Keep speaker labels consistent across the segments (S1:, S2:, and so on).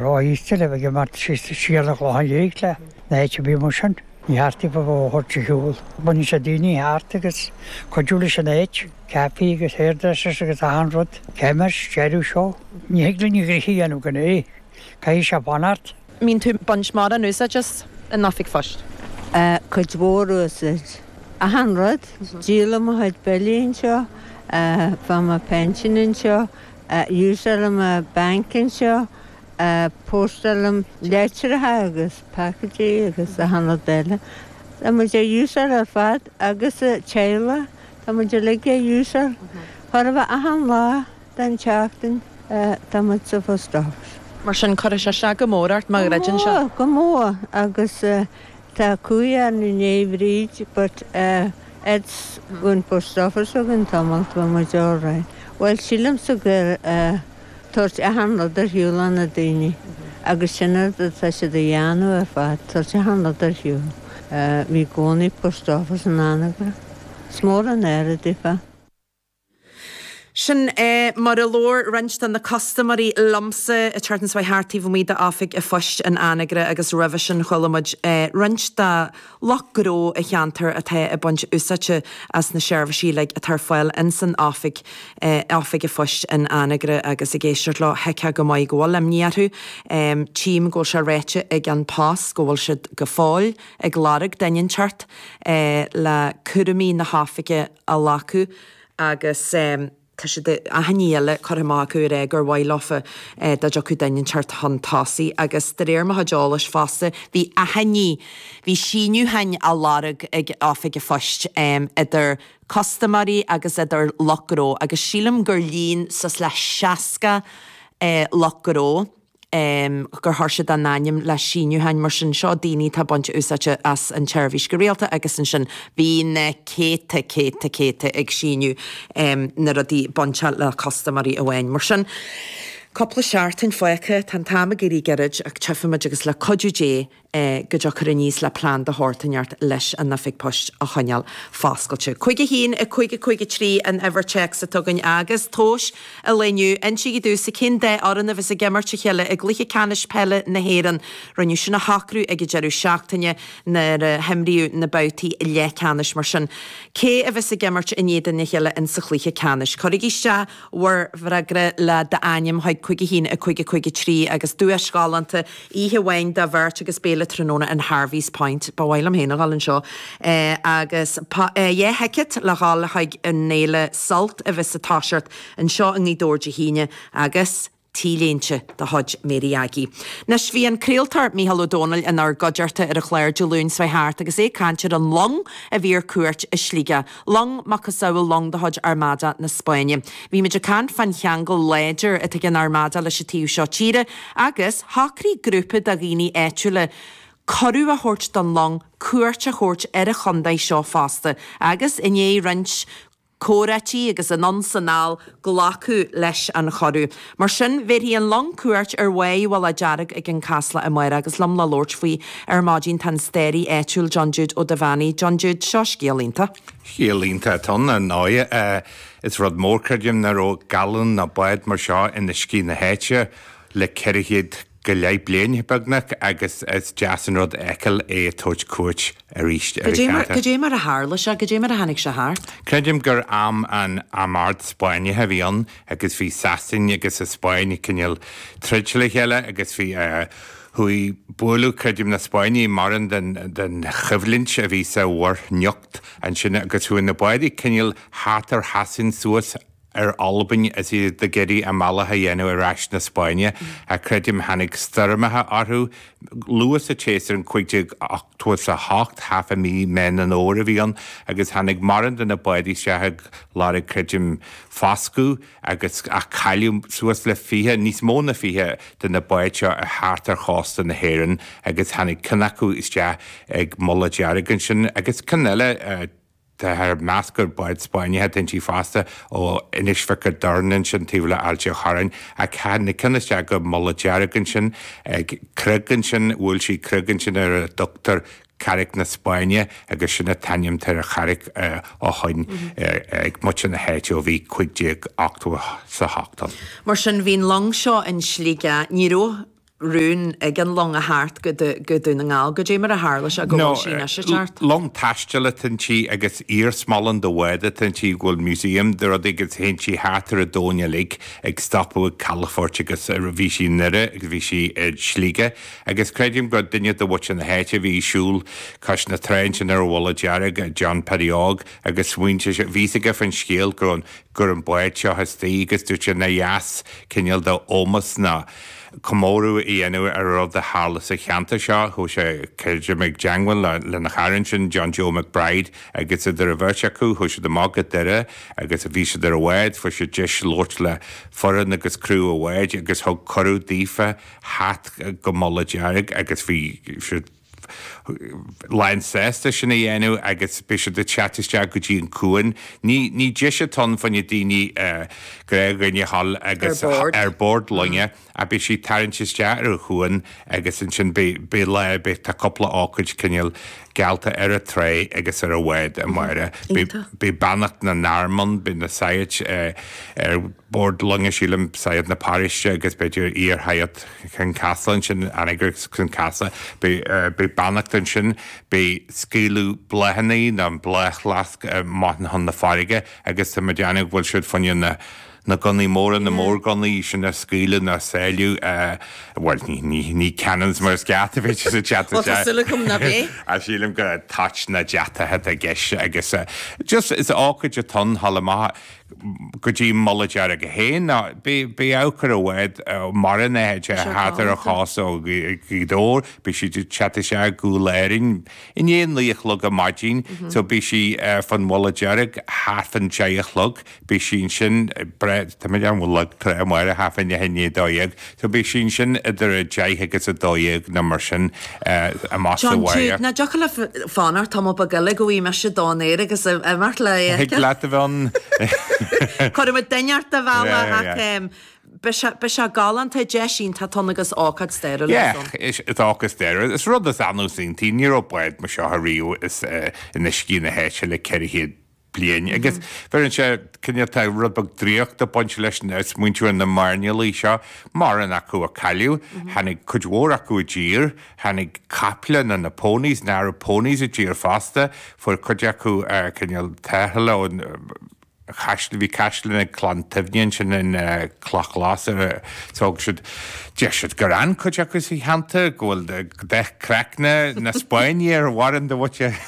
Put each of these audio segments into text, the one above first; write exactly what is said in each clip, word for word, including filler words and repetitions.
S1: Rá-íosta le bheith ag imeacht síos siar an Chlochán Liath le na háit a bhí mar sin. Ní theastaigh ba mhó a thabhairt ar shiúl. Baineann sé daoine thart agus cuidiú leis an áit, caife agus hairdressers agus achan rud. Chemist, deireadh seo. Ní thig linn gnoithe a dhéanamh gan é. Caithfidh sé fanacht.
S2: Mbíonn tú ag baint mórán úsáid as an oifig phoist?
S3: Cuid mhór úsáid. Achan rud. Díolaim mo chuid billí anseo, faighim mo pension anseo, úsáidim mo bank anseo, postálaim leitreacha agus packages agus achan rud eile. Tá muid á úsáid ar fad agus teaghlach, tá muid uilig á úsáid. Chóir a bheith achan lá den tseachtain tá muid sa post office.
S2: Mar sin cuirfidh sé isteach go mór ort má dhruideann sé.
S3: Go mór agus tá cumhaidh orainn i ndiaidh Bhríd but it's an post office againn tamall tá muid all right. Bhuel sílimse gur tabhairt achan rud ar shiúl na daoine agus sin rud atá siad a dhéanamh ar fad, tabhairt achan rud ar shiúl. Bhí gcónaí post office in Anagaire. Is mór an aire daofa.
S2: Sin é mar a labhair roinnt de na custaiméirí liomsa ag teacht anseo thart taobh amuigh d'oifig an phoist in Anagaire agus roimhe sin chuala muid roinnt de lucht gnó an cheantair atá ag baint úsáide as na seirbhísí like atá ar fáil in san oifig oifig an phoist in Anagaire agus ag éisteacht leo thuigfeá go maith go bhfuil imní orthu. Tchím go bhfuil sé ráite ag An Post go bhfuil siad go fóill ag lorg duine inteacht le cúraimí na hoifige a ghlacadh agus tá siad achainí eile curtha amach acu ar gur mhaith leofa dá dtiocfadh duine inteacht chun tosaigh agus de réir mo chuid eolais fosta bhí achainí bhí síniúcháin á lorg ag oifig an phoist idir custaiméirí agus idir lucht gnó agus sílim gur líon suas le seasca lucht gnó gur chuir siad a n-ainm le síniúcháin mar sin seo daoine atá ag baint úsáide as an tseirbhís go rialta agus ansin bhí na céadta céadta céadta ag síniú na rudaí bainte le custaiméirí amháin mar sin. Cúpla seachtain fágtha tá an t-am ag éirí gairid ach tchífimid agus le cuidiú Dé go dtiocfar aníos le plean de shórt inteacht leis an oifig poist a choinneáil foscailte. Cúig a haon a cúig a cúig a trí an uimhir téacs atá againn agus tomhais an lae inniu insígí domhsa cén dá fhoireann a bheas ag imirt a chéile i gcluiche ceannais peile na hÉireann. Rinneadh sin a shocrú ag an deireadh seachtaine nuair a himríodh na babhtaí leathcheannais mar sin. Cé a bheas ag imirt in éadan a chéile in sa chluiche ceannais. Cuirigí isteach bhur bhfreagra le d'ainm chuig cúig a haon a cúig a cúig a trí agus duais ghalánta oíche amháin do bheirt agus béile tráthnóna in Harvey's Point ba mhaith liom féin a dhul anseo agus dhá thicéad le dhul chuig an fhéile Sult a bheas ag toiseacht anseo i nGaoth Dobhair Dé hAoine agus T-léinte de chuid Mary Aggie. Anois bhí an craoltóir Mícheál Ó Domhnaill inár gcuideachta ar an chlár Dé Luain seo thart agus é ag caint ar an long a bhí ar cuairt i Sligeach. Long macasamhail long de chuid Armada na Spáinne. Bhí muid ag caint fán cheangal láidir atá ag an Armada leis an taobh seo tíre agus shocraigh grúpa de dhaoine áitiúla cuireadh a thabhairt don long cuairt a thabhairt ar an chontae seo fosta agus i ndiaidh roinnt comhráití agus anonn 's anall glacadh leis an chuireadh. Mar sin bhéarfaidh an long cuairt ar Mhaigh Mhullach Dearg ag an Casla amárach agus liom le labhairt faoi ar maidin tá an staraí áitiúil John Jude Ó Duibheannaigh. John Jude seo scéal iontach.
S4: Scéal iontach atá ann ar ndóigh. Is rud mór creidim nach raibh gallán ná bád mar seo in uiscí na háite le ceithre chéad go leith bliain beagnach agus is deas an rud a fheiceáil é ag tabhairt cuairt arís ar an cheantar.
S2: Cad é mar a tharla sé, cad é mar a tháinig sé thart?
S4: Creidim gur am an Armada Spáinneach a bhí ann agus bhí Sasain agus an Spáinn ag cineál troid le chéile agus bhí chuaigh bualadh creidim na Spáinnigh mórán den den choimhlint a bhí sa Mhuir Niocht ansin agus chuaigh na báid cineál thart ar Shasain suas ar Albain is iad ag iarraidh a mbealach a dhéanamh ar ais na Spáinne a creidim tháinig stoirmeacha orthu luath sa tséasúr in cúig déag ochtó is a hocht thart fá mí Meán an Fhómhair a bhí ann agus tháinig mórán de na báid isteach ag lorg creidim foscadh agus ach cailleadh suas le fiche níos mó ná fiche de na báid seo ar thart ar chósta na hÉireann agus tháinig ceann acu isteach ag Mullach Dearg ansin agus ceann eile Táthar ag meas gur bád Spáinneach atá inti fosta ó Inis Mhic an Doirn ansin taobh le Ailt an Chorráin ach tháinig ceann isteach go Mullach Dearg ansin ag creag ansin bhuail sí creag ansin ar a dtugtar Carraig na Spáinne agus sin an t-ainm atá ar an charraig ó shoin ag muintir na háite ó bhí cúig déag ochtó is a hocht ann.
S2: Mar sin bhí an long seo in Sligeach, ní raibh rún ag an long a theacht go go Dún na nGall, goidé mar a tharla sé go bhfuil sí anois ag teacht.
S4: Long taistil atá inti agus iarsmalann de bhád atá inti go bhfuil museum de rudaí agus théann sí thart ar an domhan uilig ag stopadh ag calafoirt agus bhí sí i nDoire agus bhí sí i Sligeach agus creidim go duine de mhuintir na háite a bhí ag siúl cois na trá ansin ar an Mhullach Dearg, John Paddy Óg agus smaointigh sé, bhí fhios aige faoin scéal go raibh go raibh an bád seo istigh agus dúirt sé nár dheas cineál de ómós ná comóradh a dhéanamh ar an rud a tharla sa cheantar seo. Chuaigh sé, creidim, i dteangmháil lena chara ansin, John Joe McBride, agus idir an bheirt acu, chuaigh siad amach go Doire agus bhí siad ar an bhád, fuair siad deis labhairt le foireann agus criú an bháid agus thug cuireadh daofa theacht go Mullach Dearg agus bhí siad lán sásta sin a dhéanamh agus beidh siad ag teacht isteach go dtí an cuan. Ní ní deis atá ann fá choinne daoine gnáthdhaoine a dhul agus ar bord loinge ach beidh sí ag tarraingt isteach ar an chuan agus ansin beidh beidh lá beidh tá cúpla ócáid cineál geallta ar an trá agus ar an bhád amárach. Beidh beidh beannacht na n-arm ann, beidh na saighead ar bord loinge sílim, saighead na paróiste agus b'fhéidir iar-shaighead Chionn Caslach ansin, Anagaire Chionn Caslach. Beidh beidh beannacht ansin, beidh scaoileadh bláthanna nó an bláthfhleasc amach chun na farraige agus tá mé ag déanamh go bhfuil siad fá choinne na na gunnaí móra, na mórghunnaí sin a scaoileadh nó a sáilleadh, bhuel, ní, ní, ní cannons mar is ceart a bheidh siad ag teacht
S2: Bhuel, tá súil agam nach é.
S4: Ach sílim gur toit nó deatacha atá i gceist agus just is ócáid atá ann thall amach go dtí Mullach Dearg é féin ná beidh, beidh amharc ar an bhád mar an áit thart ar an chósta ó Ghaoth Dobhair, beidh siad ag teacht isteach i gCúil Árainn i ndiaidh a naoi a chlog ar maidin so beidh sí fan Mhullach Dearg thart fan deich a chlog. Beidh sí ansin, tá mé ar an bhfuil trá amárach thart fá deich i ndiaidh a dó dhéag, so beidh sí ansin idir a deich agus a dó dhéag nó mar sin amach sa
S2: John, tú,
S4: bhaile.
S2: ná dtiocfadh leat fanacht tamall beag eile go bhfaighidh mise don aer agus imeacht le
S4: Thig
S2: feiceáil.
S4: leat a bheith ann.
S2: Cuirfidh muid duine ort a mhealladh
S4: Yeah,
S2: ach
S4: yeah.
S2: em, beidh sé, beidh sé galánta, deis iontach atá ann agus ócáid stairiúil
S4: Yeah,
S2: ann.
S4: is is ócáid stairiúil. Is rud is annamh is iontaí, ní raibh bád mar seo ariamh is eh, in uiscí na háite le ceithre chéad bliain. Agus bheireann sé cineál tá rud beag draíochta ag baint leis ag smaointiú ar na mairnéalaigh seo, mórán acu a cailleadh, tháinig cuid mhór acu i dtír, tháinig caiple nó na ponies, na Arab ponies i dtír fosta, fuair cuid acu cineál tarrthála ón chaisleán, bhí caisleán ag Clann Tuimhne ansin in Cloch Ghlas ar thóg siad, deir siad gur fhan cuid acu sa cheantar, go bhfuil dath craicne na Spáinne ar mhórán de mhuintir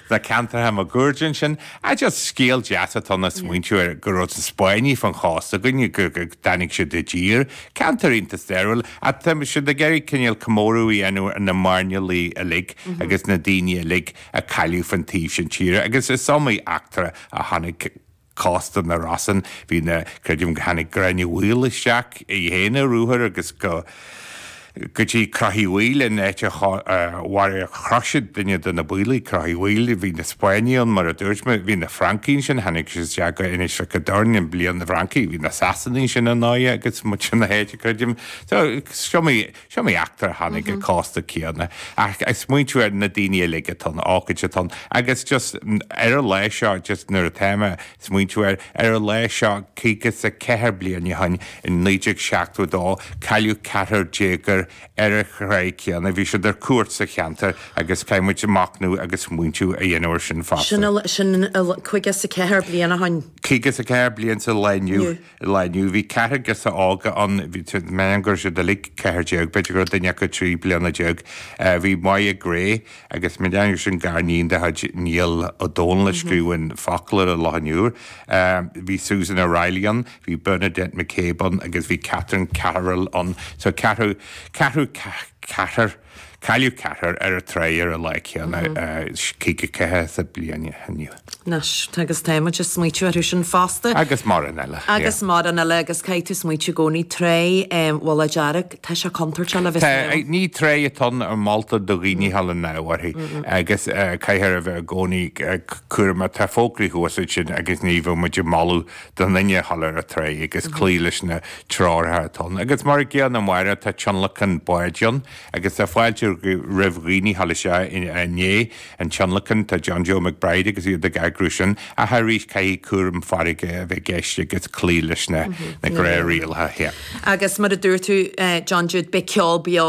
S4: na ceantartha máguaird ansin. Ah just scéal deas atá ann ag smaointiú ar go raibh na Spáinnigh fan chósta againn, go dtáinig siad i dtír. Ceantar iontach stairiúil ach tá siad ag iarraidh cineál comóradh a dhéanamh ar na mairnéalaigh uilig agus na daoine uilig a cailleadh fan taobh sin tíre agus is iomaí eachtra a tháinig cósta na Rosann. Bhí na, creidim go tháinig Gráinne Mhaol isteach í féin ar ruathar agus go go dtí Crois Uí Bhaoill an áit a mharaigh chroch siad duine de na Baoilligh, Crois Uí Bhaoill. Bhí na Spáinnigh ann mar a dúirt mé, bhí na Francaigh ansin, tháinig siad isteach go Inis Mhic an Doirn i mbliain na bhFrancaigh, bhí na Sasanaigh ansin ar ndóighe agus muintir na háite creidim. So is iomaí, is iomaí eachtra a tháinig an cósta céanna. Ach ag smaointiú ar na daoine uilig atá ann, ócáid atá ann agus just ar an lá seo just nuair atá mé smaointiú air, ar an lá seo caoga is a ceathair bliain ó shin, in naoi déag seachtó a dó, cailleadh ceathrar déagóir ar an tráigh céanna. Bhí siad ar cuairt sa cheantar agus caithfidh muid machnamh agus smaointiú a dhéanamh air sin fosta.
S2: Sin caoga is a ceathair bliain ó shin.
S4: Caoga is a ceathair bliain sa lá inniu. Lá inniu. Bhí ceathrar girseach óga ann, bhí mé go raibh siad uilig ceathair déag, b'fhéidir go raibh duine acu trí bliana déag. Bhí Moya Gray agus mé ag déanamh sin gariníon de chuid Niall Ó Dónaill a scríobh an foclóir ar Loch an Iúir. Bhí Susan O'Reilly ann, bhí Bernadette McCabe ann agus bhí Catherine Carroll ann. So ceathrú, ceathrú, ceathrar, cailleadh ceathrar ar an tráigh ar an lá céanna, caoga ceathair sa bliain inniu.
S2: Anois, agus tá muid ag smaoitiú orthu sin fosta.
S4: Agus mórán eile.
S2: Agus mórán eile agus caithfidh tú smaoitiú i gcónaí Tráigh Mhullach Dearg, tá sé contúirteach le bheith
S4: Tá, ní tráigh atá ann a moltar do dhaoine a dhul anall uirthi agus caithfear a bheith i gcónaí cúramach. Tá fógraí thuas ansin agus ní bheadh muid ag moladh do dhuine a dhul ar an tráigh agus cloí leis na treoracha atá ann. Agus mar an gcéanna amárach tá tionlacan báid ann. agus tá fáilte roimh dhaoine a ghabháil isteach i ndiaidh an tionlacan tá John Joe McBride agus iad ag eagrú sin ach arís caithfidh cúram farraige a bheith i gceist agus cloí leis na na gnáthrialacha.
S2: Agus mar a dúirt tú John Jude beidh ceol beo